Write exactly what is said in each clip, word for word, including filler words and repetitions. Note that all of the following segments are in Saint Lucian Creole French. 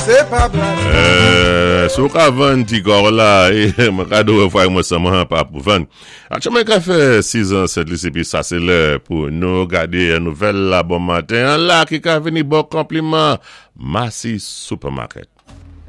Sé pa blag. Euh, si ou ka vann ti kò la, é, mwen ka di fwa mwen sèlman pa pou vann. Aktyèlman ka fè sis an Sent Lisi épi sa sé lè pou nou gadé nouvèl la bon maten an la ki ka vini bon konpliman Massy Supermarket.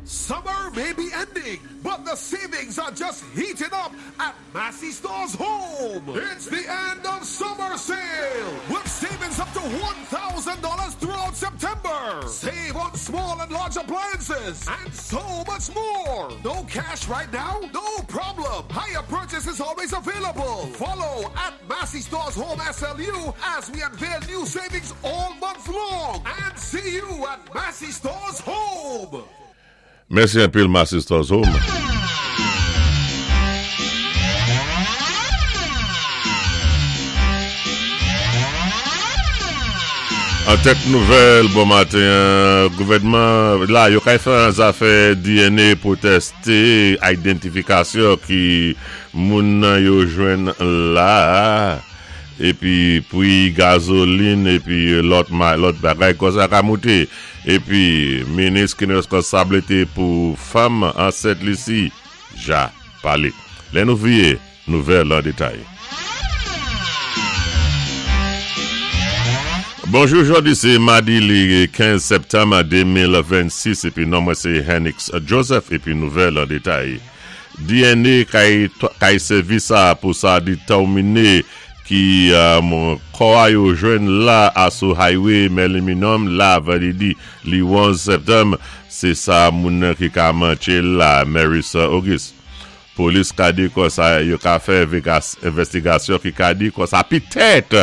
Summer may be ending, but the savings are just heating up at Massy Stores Home. It's the end of summer sale with savings up to one thousand dollars throughout September. Save on small and large appliances and so much more. No cash right now? No problem. Hire purchase is always available. Follow at Massy Stores Home S L U as we unveil new savings all month long. And see you at Massy Stores Home. Mèsi anpil Massy Stores Home. An tèt nouvèl bon maten, gouvèdman la yo kay fè an zafè D N A pou tèsté identifikasyon ki moun nan yo jwenn la épi pri gazolin épi lòt ma, lòt bagay konsa ka mouté épi minis ki responsablité pou fanm an Sent Lisi ja palé. Lè nou vié nouvèl an détay. Bonjou, jodi sé madi li kenz septanm de mil vennsis épi non mwen sé Henix Joseph épi nouvèl an détay. D N A kay, kay sèvi sa pou sa détèminé ki um, kò a yo jwenn la a sou highway Meliminum la vandrédi li onz septanm, sé sa moun nan ki ka mantché la Marissa Auguste. Polis ka di konsa yo ka fè envestigasyon ki ka di konsa pitèt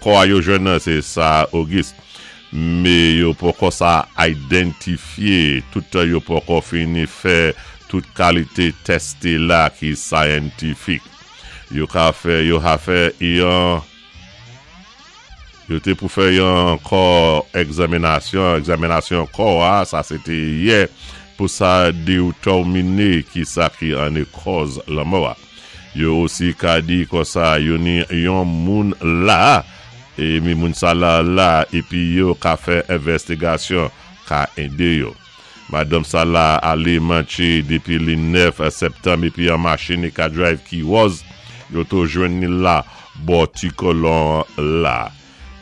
kò a yo jwenn nan sé sa Auguste. Mé yo poko sa identifyé, tout yo poko fini fè tout kalité tèste la ki scientific. Yo ka fè, yo ha fè yon yo té pou fè yon kò egzaminasyon, egzaminasyon kò a, sa sé té yè, pou sa détèminé ki sa ki an kòz lanmò a. Yo osi ka di konsa yo ni yon moun la, é mi moun sa la la, épi yo ka fè envestigasyon ka édé yo. Madanm sa la alé mantché dépi li nèf septanm épi an machin ka drive ki wòz, yo to jwenn ni la bò ti kolon la.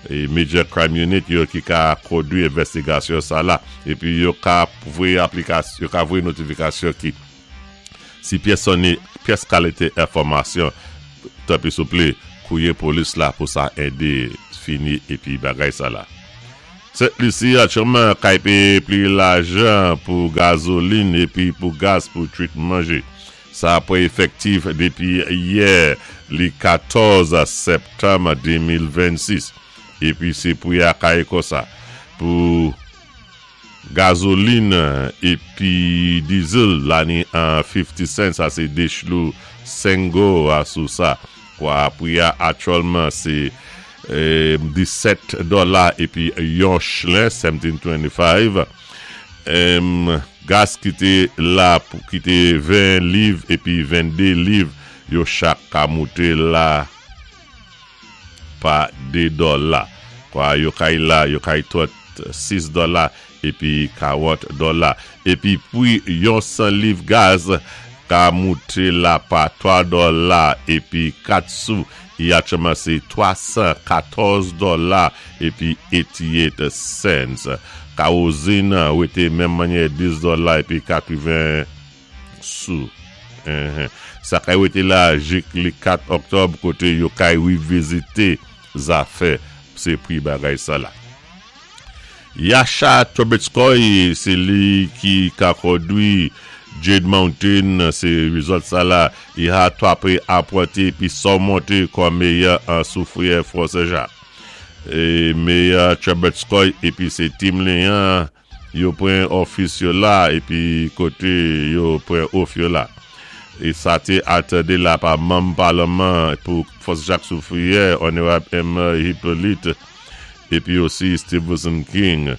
É Major Crime Unit yo ki ka kondwi envestigasyon sa la épi yo ka voyé aplikasyon, yo ka voyé notifikasyon ki si pyès ni pyès kalité enfòmasyon tanpwi souplé kouwé polis la pou sa édé fini épi bagay sa la. Sent Lisi aktyèlman kay péyé pli lajan pou gazolin épi pou gaz pou twit manjé. Sa pou efektif dépi yè li katòz septanm de mil vennsis. Épi sé pou ya kay konsa pou gazolin épi diesel la ni an fifty cents, sa sé dé chlou sengo a sou sa. Kwa pou ya aktyèlman sé eh, disèt dola épi yon chlen, sèdjin twenty-five. Em, gaz ki té la pou ki té ven liv épi venndé liv yo chak ka mouté la pa dé dola. Kwa yo kay la, yo kay tout sis dola épi karant dola. Épi pri yon san liv gaz ka mouté la pa twa dola épi kat sou. I aktyèlman sé twa san katòz dola épi eighty-eight cents. Kawozin wété menm mannyè dis dola épi katreven sou. Uh-huh. Sa kay wété la jik li kat oktòb koté yo kay revizité zafè sé pri bagay sa la. Yasha Trubetskoy, sé li ki ka kondwi Jade Mountain, sé resort sa la, i ha twapé apwanté pi sòmonté kòm meyè an Soufrière Fort Saint-Jacques. É meyè Trubetskoy épi sé team li an, yo pran ofis yo la épi koté yo pran oath yo la. É sa té atandé la pa manm palman pou Fort Jacques Soufrière, Honorable M. Hippolyte, épi osi Stevenson King.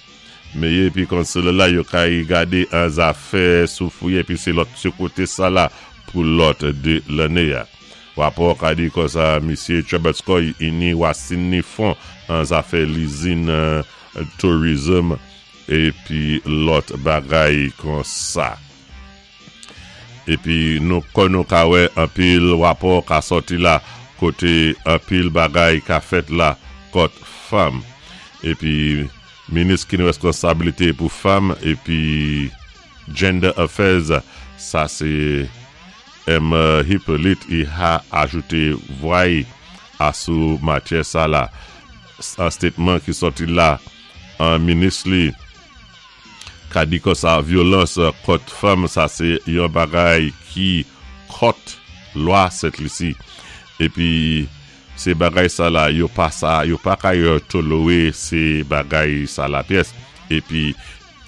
Meyè épi councilor la yo kay gadé an zafè Soufrière épi sé lòt sé koté sa la pou lòt dé lanné a. Rapò ka di konsa Misye Trubetskoy ini wasin ni fon an zafè lizin uh, tourism Épi lòt bagay kon sa. Épi nou kon nou ka wè anpil wapò ka sòti la koté anpil bagay ka fèt la kont fanm. Épi minis ki ni wèskonsabilité pou fanm épi Gender Affairs, sa sé M. Hyppolite i ha ajouté vwa-y asou matyè sa la. An statement ki sòti la an minis li ka di kon sa vyolans kont fanm sa sé yon bagay ki kont lwa Sent Lisi. Épi sé bagay sa la yo pa sa, yo pa ka yo toléré sé bagay sa la pyès. Épi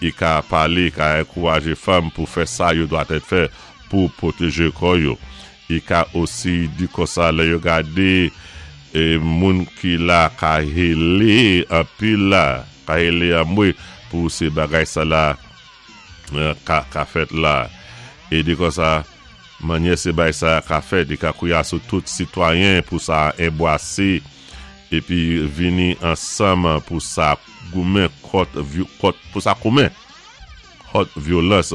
i ka palé, ka ankourajé fanm pou fè sa yo dwa tèt fè pou pwotéjé kò yo. I ka osi di kon sa lè yo gadé é moun ki la ka hélé anpil la, ka hélé anmwé pou sé bagay sa la ka, ka fèt la. É di kon sa manyè sé bagay sa ka fèt, i ka kwiyé sou tout sitwayen pou sa anbwasé épi vini ansanm pou sa goumen kont, kont pou sa goumen kont vyolans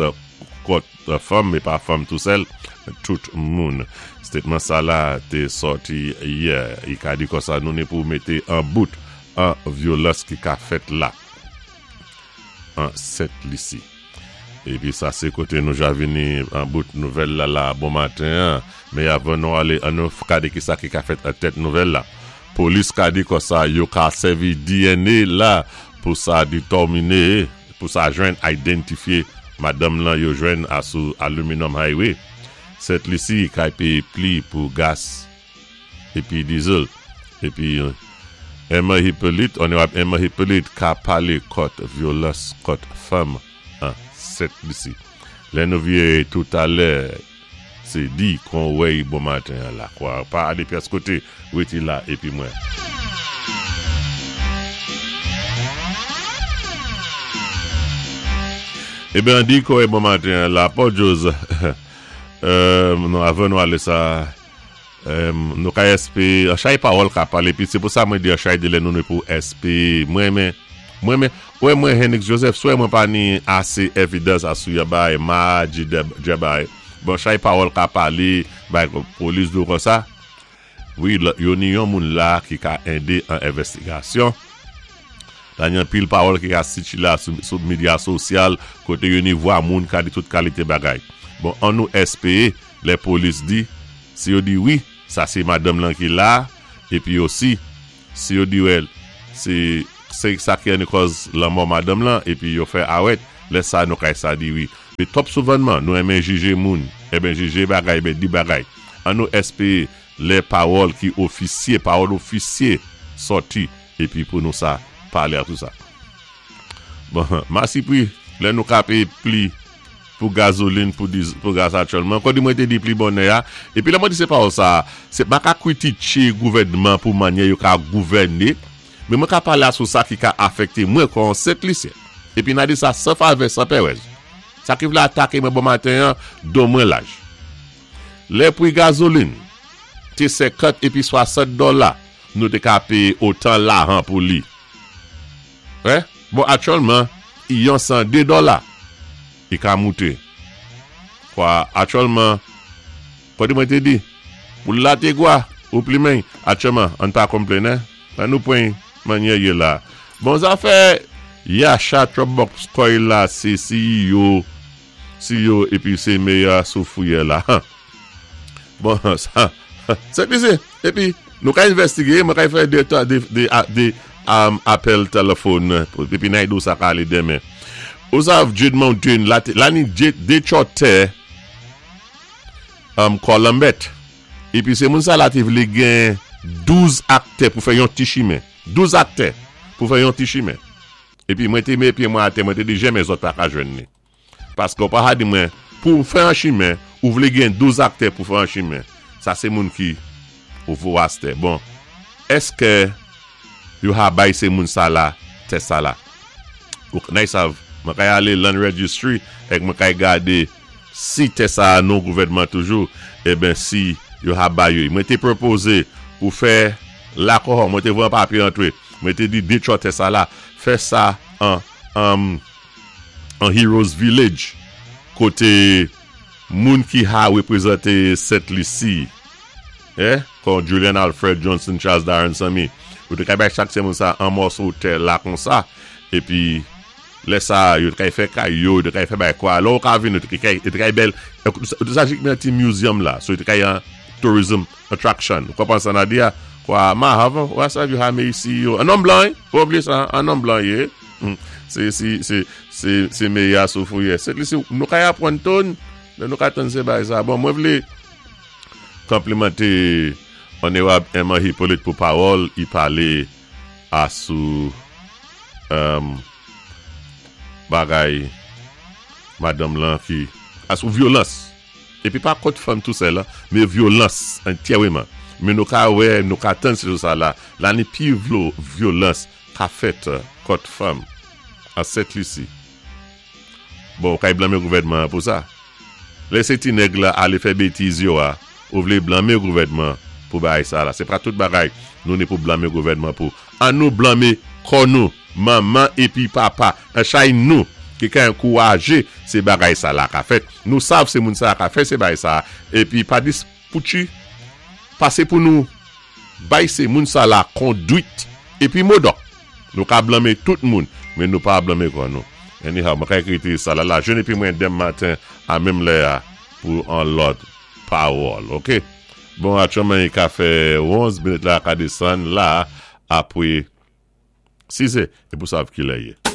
kont fanm, mé pa fanm tou sèl, tout moun. Statement sa la té sòti yè. I ka di kon sa nou ni pou mété an bout an vyolans ki ka fèt la an Sent Lisi. Épi sa sé koté nou ja vini an bout nouvèl la la bon maten, mé avan nou alé an nou gadé ki sa ki ka fèt an tèt nouvèl la. Polis ka di kon sa yo ka sèvi D N A la pou sa détèminé, pou sa jwenn idantifyé madanm lan yo jwenn asou Aluminum Highway. Sent Lisi ka péyé pli pou gas épi diesel. Épi Emma Hyppolite, Onorab Emma Hyppolite ka palé kont vyolans kont fanm an Sent Lisi. Lè nou vyé toutalè sé di kon wè bon maten la kwa. Pa alé pyès koté, wété la épi mwen. Eben di kon bon maten la, Paul Jose, euh, nou avan nou alé sa, euh, nou ka espé, an chay pawòl ka palé, pi sé pou sa mwen di an chay de lè nou nou pou espé, mwen men, mwen men, wè mwen Henrik Joseph, swè mwen pa ni asé evidans asou ya bay, ma di de, de bay, bon chay pawòl ka palé, bay polis dou kon sa, wi, yo ni yon moun la ki ka édé an envestigasyon. La yon pil pawòl ki ka siti la sou, sou medya sosyal, koté yo ni vwa moun ka di tout kalité bagay. Bon, an nou espéyé, lè polis di, si yo di wi, sa sé madanm lan ki la, épi osi, si yo di wè, sé, sé sa ki an kòz lanmò madanm lan, épi yo fè awèt, lè sa nou kay sa di wi. Mé twòp souvanman, nou renmen jijé moun, eben jijé bagay, eben di bagay. An nou espéyé, lè pawòl ki ofisyé, pawòl ofisyé sòti, épi pou nou sa, palé a tout sa. Bon, masi pi, lè nou ka péyé pli pou gazolin, pou, diz, pou gaz aktyèlman. Kon di mwen té di pli bonè ya, épi lè mwen di sé pawòl sa, sé pa ka kwitiké gouvèdman pou manyè yo ka gouvèné, mé mwen ka palé asou sa ki ka afèkté mwen kon Sent Lisyen. Épi nan di sa san favè, san pèrèz. Sa ki vlé ataké mwen bon maten, don mwen laj. Lè pri gazolin, té senkant épi swasant dola, nou té ka péyé otan lahan pou li. Eh? Bon, aktyèlman, yon san dé dola, i ka mouté. Kwa, aktyèlman, kwa di mwen té di, pou la té gwa, ou plimen, aktyèlman, an pa konplennen, an nou pwen manyè yé la. Bon, zafè, Yasha Trumbox koy la, sé C E O, C E O, épi sé mayor sou fouye la. Bon, sa, sé pi sé, épi, nou ka envestigé, mwen ka fè de, de, de, de um, apèl téléfòn, épi nan do sa ka alé denmen. Ou sav Jade Mountain, la, la ni dé tò tè, um, Columbet. Épi sé moun sa la té vlé gen douz aktè pou fè yon ti chimen. douz aktè pou fè yon ti chimen. Épi mwen té mé pyé mwen atè, mwen té di jenmen zòt pa ka jwenn ni. Paské ou pa ha di mwen, pou fè an chimen, ou vlé gen douz aktè pou fè an chimen. Sa sé moun ki ou voras tè. Bon, èské yo ha bay sé moun sa la, tè sa la? Ou nay sav, mwen kay alé land registry, ek mwen kay gadé si tè sa non gouvèdman toujou, eben si yo ha bay yo. Mwen té pwopozé pou fè la kohon, mwen té voye an papyé antré, mwen té di de tò tè sa la, fè sa an, an, An Heroes Village, koté moun ki ha wépwézanté Sent Lisi, eh, kon Julian Alfred Johnson, Charles Darren Sammy, yo té kay bay chak sé moun sa an mòso tè la kon sa, épi lè sa, yo té kay fè kay yo, yo té kay fè bay kwa, lò ka vin, yo té kay, yo té kay bèl, yo té sa jik men ti museum la, so yo té kay an tourism attraction. Ou konpwann sa na di ya? Kwa, ma hav, wè sa yo ha me isi yo, an nonm blan, pa oubliyé sa, an nonm blan yé, sé, sé, sé, sé, sé méya sou fouye. Sent Lisi, nou kay apwann ton, nou kay tann sé bay sa. Bon, mwen vlé konplimanté Onorab Emma Hippolyte pou pawòl, i palé asou um, bagay madanm lan ki asou vyolans. Épi pa kont fanm tou sèl la, mé vyolans antyèman. Mé nou ka wè, nou ka tann sé sa la, la ni pi vlo vyolans ka fèt kont fanm an Sent Lisi. Bon, kay blanmé gouvèdman pou sa. Lè sé ti nèg la alé fè bétiz yo a, ou vlé blanmé gouvèdman pou bagay sa la. Sé pa tout bagay nou ni pou blanmé gouvèdman pou. An nou blanmé kò nou, manman épi papa, an chay nou, ki ka ankourajé sé bagay sa la ka fèt. Nou sav sé moun sa ka fèt sé bagay sa. Épi pa dis poutchi, pasé pou nou bay sé moun sa la kondwit épi modò. Nou ka blanmé tout moun, mé nou pa blanmé kò nou. Anyhow, mwen kay kriti sa la la. Jwenn épi mwen denmen maten a menm lè a pou an lòt pawòl, ok? Bon, aktyèlman i ka fè onz minit la ka désann la apwé sis é, é pou sav ki lè yé.